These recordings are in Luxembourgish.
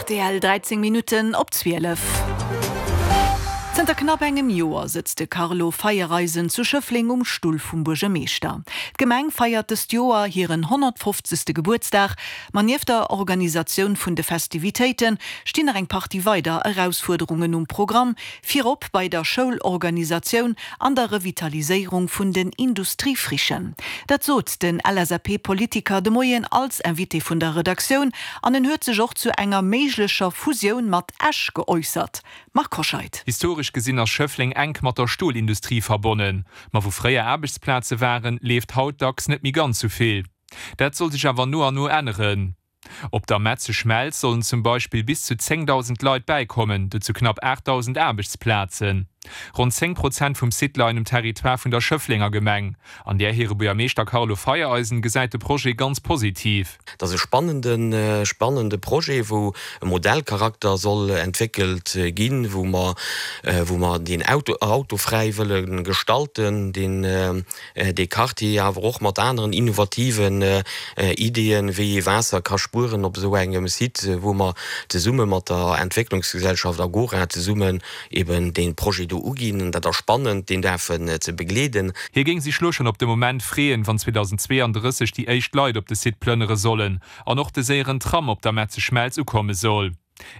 Rtl, 13 Minutten op 12. Zënter knapp engem Joer sëtzt de Carlo Feiereisen zu Schëffleng um Stull vum Buergermeeschter. D'Gemeng feiert dëst Joer hiren 150. Gebuertsdag, ma nieft der Organisatioun vun de Festivitéite stinn nach eng Partie weider Erausfuerderungen um Programm, virop bei der Schoulorganisatioun an der Revitaliséierung vun den Industriefrichen. Dat sot den LSAP-Politiker de Moien als Invité vun der Redaktioun an en huet sech och zu enger méiglecher Fusioun mat Esch geäussert. Marc Hoscheid. Historesch gesinn ass Schëffleng enk mat der Stolindustrie verbonnen. Ma wou fréier Aarbechtsplaze waren, leeft haut dacks net méi ganz sou vill. Dat soll sech awer no an no änneren. Op der Metzeschmelz sollen zum Beispill bis zu 10.000 Leit bäikommen, dozou knapp 8.000 Aarbechtsplazen. Ronn 10 Prozent vum Site leien um Territoire vun der Schëfflenger Gemeng. An där hire Buergermeeschter Carlo Feiereisen gesäit de Projet ganz positiv. Et ass e spannende, spannende Projet, wou e Modellcharakter soll entwéckelt ginn, wou mer, wou mer deen Auto, autofräi wëlle gestalten, deen, dee Quartier, awer och mat aneren innovativen Ideeën, wéi ee Waasser ka spueren op esou engem Site, wou mer zesumme mat der Entwécklungsgesellschaft Agora zesummen eben dee Projet do uginn. Dat ass spannend, deen däerfen ze begleeden. Hie géing sech lo schonn op de Moment freeën, wann 2032 déi éischt Leit op de Site plënnere sollen an och de séieren Tram op der Metzeschmelz ukomme soll.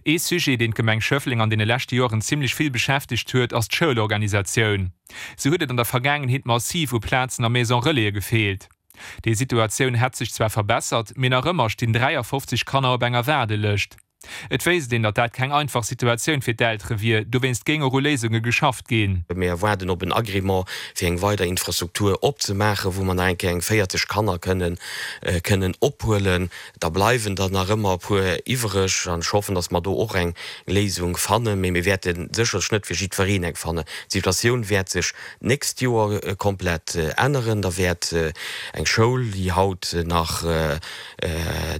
Ee Sujet, deen d'Gemeng Schëffleng an deene leschte Joren zimmlech vill beschäftegt huet, ass d'Schoulorganisatioun. Sou huet et an der Vergaangenheet massiv u Plazen a Maison-relaise gefeelt. Déi Situatioun hätt sech zwar verbessert, mee nach ëmmer stinn 53 Kanner op enger Waardelëscht. Et wéisst een, datt dat keng einfach Situatioun fir d'Eltere wier, dowéinst géing och u Léisunge geschafft ginn. Mir waarden op en Agrément, fir eng weider Infrastruktur opzemaachen, wou mer nach eng Kéier eng 40 Kanner kënnen kënnen ophuelen. Da bleiwen der nach ëmmer e puer iwwereg an ech hoffen, datt mer do och eng Léisung fannen. Mee mir wäerte sécherlech net fir jiddwereen eng fannen. D'Situatioun wäert sech d'nächst Joer komplett änneren. Da wäert eng Schoul, déi haut nach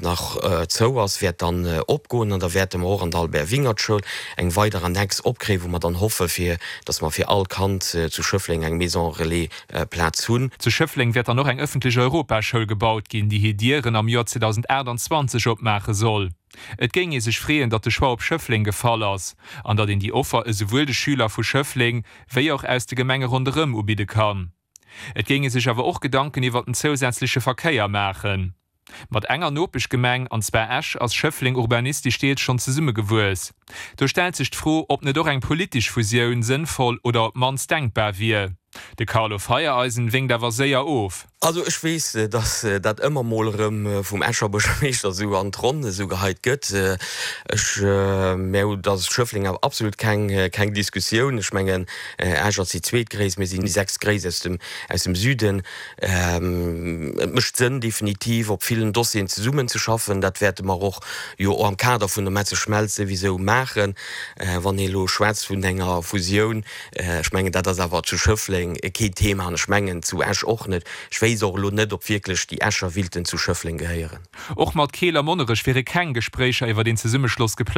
nach zou ass, wäert dann opgoen an da wäerte mer och an der Albert Wingert Schoul eng weider Annex opkréien, wou mer dann hoffe fir dass mer fir all Kand zu Schëffleng eng Maison Relais Plaz hunn. Zu Schëffleng wäert dann och eng ëffentlech Europaschoul gebaut ginn, déi hir Dieren am Joer 2028 opmaache soll. Et géing ee sech freeën, datt de Choix op Schëffleng gefall ass an datt een déi Offer esouwuel de Schüler vu Schëffleng wéi och aus de Gemenge ronderëm ubidde kann. Et géing ee sech awer och Gedanken iwwert den zousätzleche Verkéier maachen. Mat enger Nopeschgemeng, an zwar Esch, ass Schëffleng urbanistesch deels schonn zesummegewuess. Do stellt sech d'Fro, ob net och eng politesch Fusioun sënnvoll oder op d'mannst denkbar wier. De Carlo Feiereisen wénkt awer séier of. Also ech weess, datt dat ëmmer mol erëm vum Escher Buergermeeschter esou an d'Ronn esou geheit gëtt. Ech, mä dat ass Schëffleng awer absolut keng, keng Diskussioun. Ech mengen, Esch ass déi zweetgréisst, mir sinn déi sechstgréisst aus dem, aus dem Süden. Et mécht Sënn definitiv op villen Dossieren zesummenzeschaffen. Dat wäerte mer och jo am Kader vun der Metzeschmelz souwisou maachen. Wann ee elo schwätzt vun enger Fusioun, ech mengen dat ass awer zu Schëffleng keen Thema an ech mengen zu Esch och net. Ech wéisst och elo net, ob wierklech déi Escher willten zu Schëffleng gehéieren. Och mat Keel a Monnerech wiere keng Gespréicher iwwer een Zesummeschloss geplangt.